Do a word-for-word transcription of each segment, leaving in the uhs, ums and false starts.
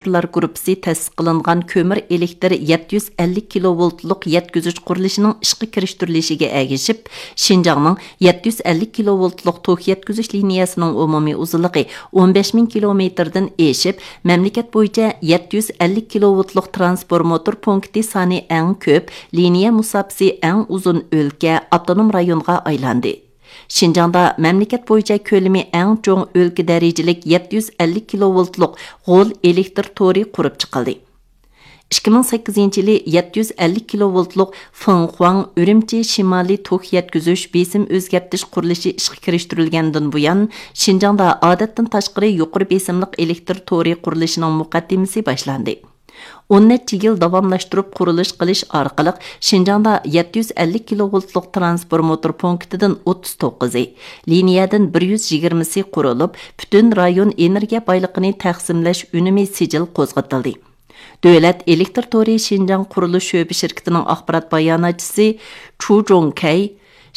ئۇچۇرلار گۇرۇپپىسى تەسىس قىلىنغان كۆمۈر ئېلېكتىر يەتتە يۈز ئەللىك كىلوۋولتلۇق يەتكۈزۈش قۇرۇلۇشىنىڭ ئىشقا كىرىشتۈرۈلۈشىگە ئەگىشىپ، شىنجاڭنىڭ يەتتە يۈز ئەللىك كىلوۋولتلۇق توك يەتكۈزۈش لىنىيەسىنىڭ ئومۇمىي ئۇزۇنلۇقى ئون بەش مىڭ كىلومېتىردىن ئېشىپ، مەملىكەت بويىچە يەتتە يۈز ئەللىك كىلوۋولتلۇق ترانسفورماتور پونكىتى سانى ئەڭ كۆپ، لىنىيە مۇساپىسى ئەڭ ئۇزۇن ئۆلكە، ئاپتونوم رايونغا ئايلاندى. شىنجاڭدا مەملىكەت بويىچە كۆلىمى ئەڭ چوڭ ئۆلكە دەرىجىلىك يەتتە يۈز ئەللىك كىلوۋولتلۇق غول ئېلېكتر تورى قۇرۇپ چىقىلدى. ئىككى مىڭ سەككىزىنچى يىلى يەتتە يۈز ئەللىك كىلوۋولتلۇق فېڭخۇاڭ ئۈرۈمچى شىمالىي توك يەتكۈزۈش بېسىم ئۆزگەرتىش قۇرۇلۇشى ئىشقا كىرىشتۈرۈلگەندىن بۇيان، شىنجاڭدا ئادەتتىن تاشقىرى يۇقىرى بېسىملىق ئېلېكتر تورى قۇرۇلۇشىنىڭ مۇقەددىمىسى باشلاندى. ئون نەچچە يىل داۋاملاشتۇرۇپ قۇرۇلۇش قىلىش ئارقىلىق، شىنجاڭدا يەتتە يۈز ئەللىك كىلوۋولتلۇق ترانسفورماتور پونكىتىدىن ئوتتۇز توققۇزى، لىنىيەدىن بىر يۈز يىگىرمىسى قۇرۇلۇپ، پۈتۈن رايون ئېنېرگىيە بايلىقىنى تەقسىملەش ئۈنۈمى سىجىل قوزغىتىلدى. دۆلەت ئېلېكتر تورى شىنجاڭ قۇرۇلۇش شۆبە شىركىتىنىڭ ئاخبارات باياناتچىسى چۇ جوڭكەي،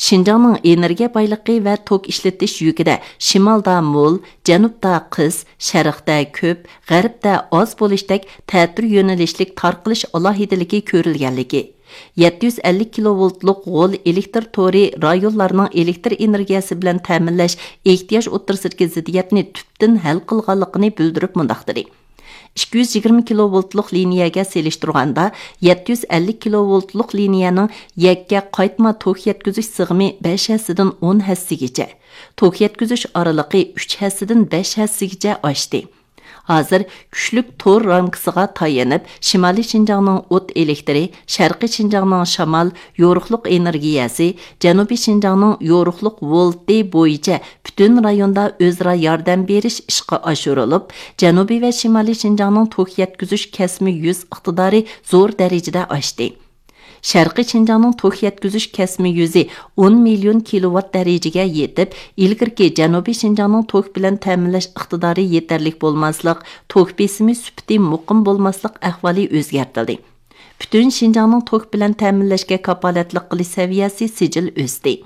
شىنجاڭنىڭ ئېنېرگىيە بايلىقى ۋە توك ئىشلىتىش يۈكىدە شىمالدا مول، جەنۇبتا قىس، شەرقتە كۆپ، غەربتە ئاز بولۇشتەك تەتۈر يۆنىلىشلىك تارقىلىش ئالاھىدىلىكى كۆرۈلگەنلىكى، يەتتە يۈز ئەللىك كىلوۋولتلۇق غول ئېلېكتر تورى رايونلارنىڭ ئېلېكتر ئېنېرگىيەسى بىلەن تەمىنلەش ئېھتىياج ئوتتۇرىسىدىكى زىددىيەتنى تۈپتىن ھەل قىلغانلىقىنى بىلدۈرۈپ مۇنداق دېدى: ئىككى يۈز يىگىرمە كىلوۋولتلۇق لىنىيەگە سېلىشتۇرغاندا، يەتتە يۈز ئەللىك كىلوۋولتلۇق لىنىيەنىڭ يەككە قايتما توك يەتكۈزۈش سىغىمى بەش ھەسسىدىن ئون ھەسسىگىچە، توك يەتكۈزۈش ئارىلىقى ئۈچ ھەسسىدىن بەش ھەسسىگىچە ئاشتى. ھازىر كۈچلۈك تور رامكىسىغا تايىنىپ، شىمالىي شىنجاڭنىڭ ئوت ئېلېكتىرى، شەرقىي شىنجاڭنىڭ شامال، يورۇقلۇق ئېنېرگىيەسى، جەنۇبىي شىنجاڭنىڭ يورۇقلۇق ۋولتى بويىچە پۈتۈن رايوندا ئۆزئارا ياردەم بېرىش ئىشقا ئاشۇرۇلۇپ، جەنۇبىي ۋە شىمالىي شىنجاڭنىڭ توك يەتكۈزۈش كەسمە يۈز ئىقتىدارى زور دەرىجىدە ئاشتى. شەرقىي شىنجاڭنىڭ توك يەتكۈزۈش كەسمە يۈزى ئون مىليون كىلوۋات دەرىجىگە يېتىپ، ئىلگىرىكى جەنۇبىي شىنجاڭنىڭ توك بىلەن تەمىنلەش ئىقتىدارى يېتەرلىك بولماسلىق، توك بېسىمى سۈپىتى مۇقىم بولماسلىق ئەھۋالى ئۆزگەرتىلدى. پۈتۈن شىنجاڭنىڭ توك بىلەن تەمىنلەشكە كاپالەتلىك قىلىش سەۋىيەسى سىجىل ئۆستى.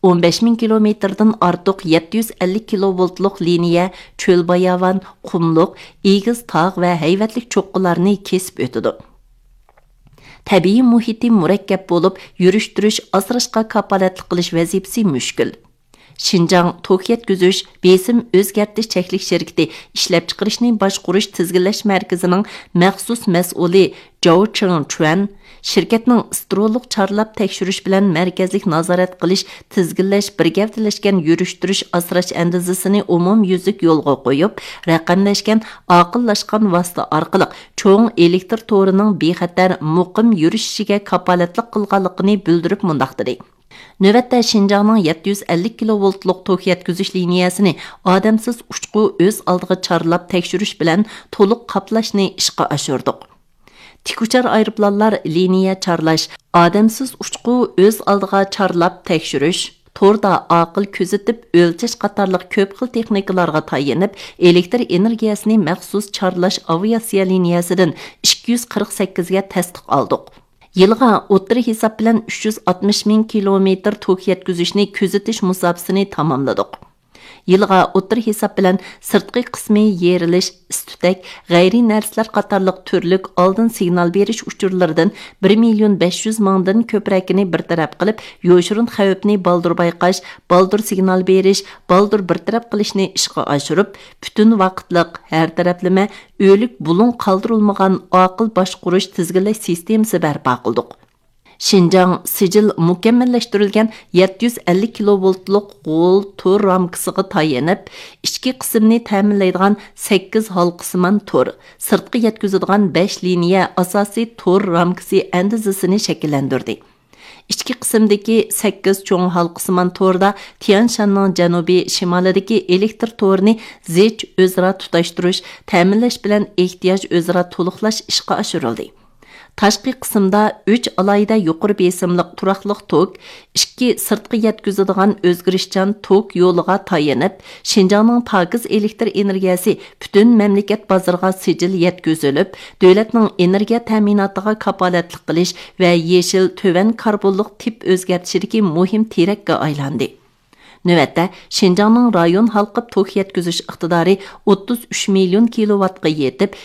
ئون بەش مىڭ كىلومېتىردىن ئارتۇق يەتتە يۈز ئەللىك كىلوۋولتلۇق لىنىيە چۆل-باياۋان، قۇملۇق، ئېگىز تاغ ۋە ھەيۋەتلىك چوققىلارنى كېسىپ ئۆتىدۇ. تەبىئىي مۇھىتى مۇرەككەپ بولۇپ، يۈرۈشتۈرۈش، ئاسراشقا كاپالەتلىك قىلىش ۋەزىپىسى مۈشكۈل. شىنجاڭ توك يەتكۈزۈش، بېسىم ئۆزگەرتىش چەكلىك شىركىتى ئىشلەپچىقىرىشنى باشقۇرۇش تىزگىنلەش مەركىزىنىڭ مەخسۇس مەسئۇلى جاۋ چىڭچۈەن شىركەتنىڭ ئىسترولۇق چارلاپ تەكشۈرۈش بىلەن مەركەزلىك نازارەت قىلىش، تىزگىنلەش، بىر گەۋدىلەشكەن يۈرۈشتۈرۈش ئاسراش ئەندىزىسىنى ئومۇميۈزلۈك يولغا قويۇپ، رەقەملەشكەن، ئاقىللاشقان ۋاسىتە ئارقىلىق چوڭ ئېلېكتر تورىنىڭ بىخەتەر، مۇقىم يۈرۈشۈشىگە كاپالەتلىك قىلغانلىقىنى بىلدۈرۈپ مۇنداق دېدى: نۆۋەتتە شىنجاڭنىڭ يەتتە يۈز ئەللىك كىلوۋولتلۇق توك يەتكۈزۈش لىنىيەسىنى ئادەمسىز ئۇچقۇ ئۆز ئالدىغا چارلاپ تەكشۈرۈش بىلەن تولۇق قاپلاشنى ئىشقا ئاشۇردۇق. تىكئۇچار ئايروپىلانلار لىنىيە چارلاش، ئادەمسىز ئۇچقۇ ئۆز ئالدىغا چارلاپ تەكشۈرۈش، توردا ئاقىل كۆزىتىپ ئۆلچەش قاتارلىق كۆپ خىل تېخنىكىلارغا تايىنىپ، ئېلېكتر ئېنېرگىيەسىنى مەخسۇس چارلاش ئاۋىئاتسىيە لىنىيەسىدىن ئىككى يۈز قىرىق سەككىزگە تەستىق ئالدۇق. يىلغا ئوتتۇرا ھېساب بىلەن ئۈچ يۈز ئاتمىش مىڭ كىلومېتىر توك يەتكۈزۈشنى كۆزىتىش مۇساپىسىنى تاماملىدۇق. يىلغا ئوتتۇرا ھېساب بىلەن سىرتقى قىسمى يېرىلىش، ئىس-تۈتەك، غەيرىي نەرسىلەر قاتارلىق تۈرلۈك ئالدىن سىگنال بېرىش ئۇچۇرلىرىدىن بىر مىليون بەش يۈز مىڭدىن كۆپرەكىنى بىر تەرەپ قىلىپ، يوشۇرۇن خەۋپنى بالدۇر بايقاش، بالدۇر سىگنال بېرىش، بالدۇر بىر تەرەپ قىلىشنى ئىشقا ئاشۇرۇپ، پۈتۈن ۋاقىتلىق، ھەر تەرەپلىمە، ئۆلۈك بۇلۇڭ قالدۇرۇلمىغان ئاقىل باشقۇرۇش تىزگىنلەش سىستېمىسى بەرپا قىلدۇق. شىنجاڭ سىجىل مۇكەممەللەشتۈرۈلگەن يەتتە يۈز ئەللىك كىلوۋولتلۇق غول تور رامكىسىغا تايىنىپ، ئىچكى قىسىمنى تەمىنلەيدىغان سەككىز ھالقىسىمان تور، سىرتقا يەتكۈزىدىغان بەش لىنىيە ئاساسىي تور رامكىسى ئەندىزىسىنى شەكىللەندۈردى. ئىچكى قىسىمدىكى سەككىز چوڭ ھالقىسىمان توردا تيەنشاننىڭ جەنۇبىي شىمالىدىكى ئېلېكتر تورىنى زىچ ئۆزئارا تۇتاشتۇرۇش، تەمىنلەش بىلەن ئېھتىياج ئۆزئارا تولۇقلاش ئىشقا ئاشۇرۇلدى. تاشقى قىسىمدا ئۈچ ئالاھىدە يۇقىرى بېسىملىق تۇراقلىق توك، ئىككى سىرتقا يەتكۈزىدىغان ئۆزگىرىشچان توك يولىغا تايىنىپ، شىنجاڭنىڭ پاكىز ئېلېكتر ئېنېرگىيەسى پۈتۈن مەملىكەت بازىرىغا سىجىل يەتكۈزۈلۈپ، دۆلەتنىڭ ئېنېرگىيە تەمىناتىغا كاپالەتلىك قىلىش ۋە يېشىل، تۆۋەن كاربونلۇق تىپ ئۆزگەرتىشىدىكى مۇھىم تىرەككە ئايلاندى. نۆۋەتتە شىنجاڭنىڭ رايون ھالقىپ توك يەتكۈزۈش ئىقتىدارى ئوتتۇز ئۈچ مىليون كىلوۋاتقا يېتىپ،